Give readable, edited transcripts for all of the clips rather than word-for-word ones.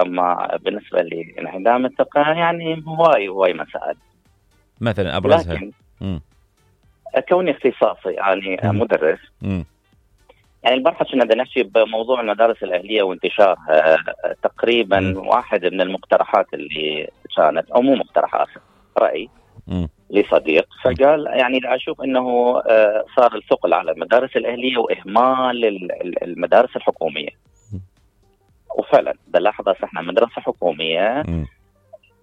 اما بالنسبه لانعدام الثقه يعني هواي مسائل. مثلا ابرزها لكن كوني اختصاصي يعني مدرس، يعني البارحه كنا بدنا نحكي بموضوع المدارس الاهليه وانتشارها. تقريبا واحد من المقترحات اللي كانت، او مو مقترحات، راي لصديق، فقال يعني اشوف انه صار الثقل على المدارس الاهليه واهمال المدارس الحكوميه. وفعلا بلاحظ احنا مدرسه حكوميه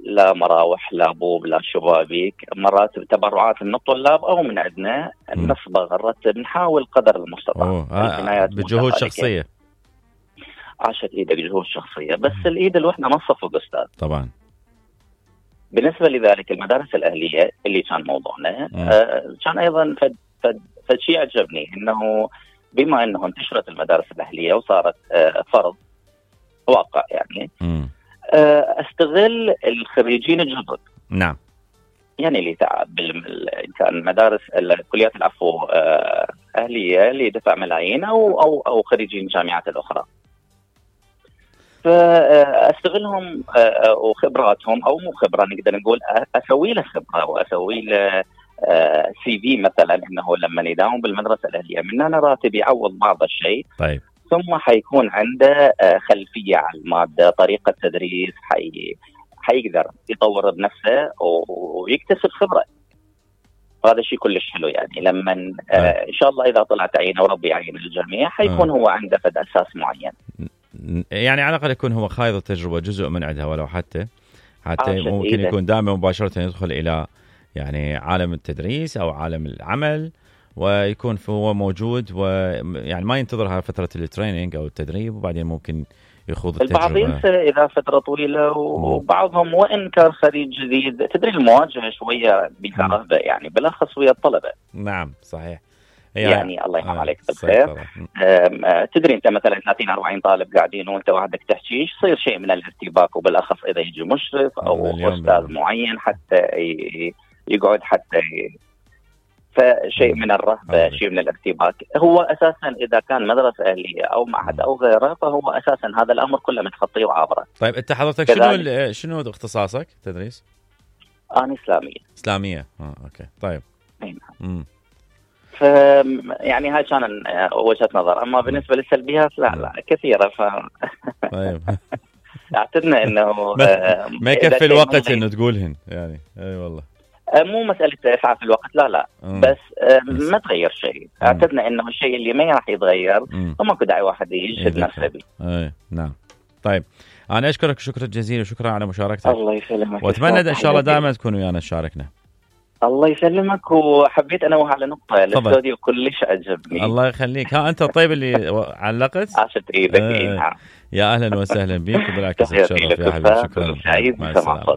لا مراوح لا بوب لا شبابيك، مرات تبرعات من الطلاب او من عندنا نصبغ نرتب نحاول قدر المستطاع بجهود شخصيه. عاشت ايدك جهود شخصيه، بس الايد الوحده ما تصفق استاذ. طبعا. بالنسبه لذلك المدارس الاهليه اللي كان موضوعنا، كان ايضا فد شيء عجبني انه بما انه انتشرت المدارس الاهليه وصارت فرض واقع يعني، استغل الخريجين الجدد. نعم. يعني اللي تعب كان مدارس كليات العفو اهليه اللي دفع ملايين او خريجين الجامعات الاخرى، فاستغلهم وخبراتهم، او مو خبره نقدر نقول اسوي له خبره واسوي له سي في مثلا، انه لما يداوم بالمدرسه الاهليه من هنا راتب يعوض بعض الشيء. طيب. ثم حيكون عنده خلفيه على الماده، طريقه تدريس، حيقدر يطور بنفسه ويكتسب خبره. وهذا شيء كلش حلو يعني لما ان شاء الله اذا طلع تعيينه وربي يعين الجميع حيكون هو عنده فد اساس معين. يعني على الاقل يكون هو خايض التجربه جزء من عندها، ولو حتى ممكن يكون دائما مباشره يدخل الى يعني عالم التدريس او عالم العمل، ويكون هو موجود، ويعني ما ينتظر هاي فتره التريننج او التدريب وبعدين ممكن يخوض التجربه. البعض ينسى اذا فتره طويله، وبعضهم وان كان خريج جديد تدري المواجهه شويه بكرهبه يعني، بالاخص ويا الطلبه. نعم صحيح. يعني الله ينعم عليك بالخير. تدري انت مثلا 30-40 طالب قاعدين وانت وحدك تحكي، يصير شيء من الارتباك، وبالاخص اذا يجي مشرف او استاذ معين حتى يقعد حتى فشيء من الرهبه، شيء من الارتباك. هو اساسا اذا كان مدرسه اهليه او معهد او غيره، فهو اساسا هذا الامر كله متخطيه وعابره. طيب انت حضرتك شنو اختصاصك تدريس؟ انا اسلاميه. اوكي. طيب. يعني هاي كان وجهه نظر. اما بالنسبه للسلبيات لا كثيره. طيب. اعتدنا انه ما يكفي الوقت انه تقولهن يعني. اي والله مو مساله اسعاف الوقت، لا بس ما تغير شيء. اعتدنا انه الشيء اللي ما راح يتغير وماكو داعي واحد يجهد نفسه به. نعم. طيب انا اشكرك شكرا جزيلا وشكرا على مشاركتك. الله يسلمك، واتمنى ان شاء الله دائما تكون ويانا تشاركنا. الله يسلمك. وحبيت انوه على نقطه، الاستوديو كلش عجبني. الله يخليك. انت الطيب اللي علقت. عاشت ايدك. يا اهلا وسهلا بك، وبالعكس اتشرف يا حبيبي. شكرا. مع السلامه.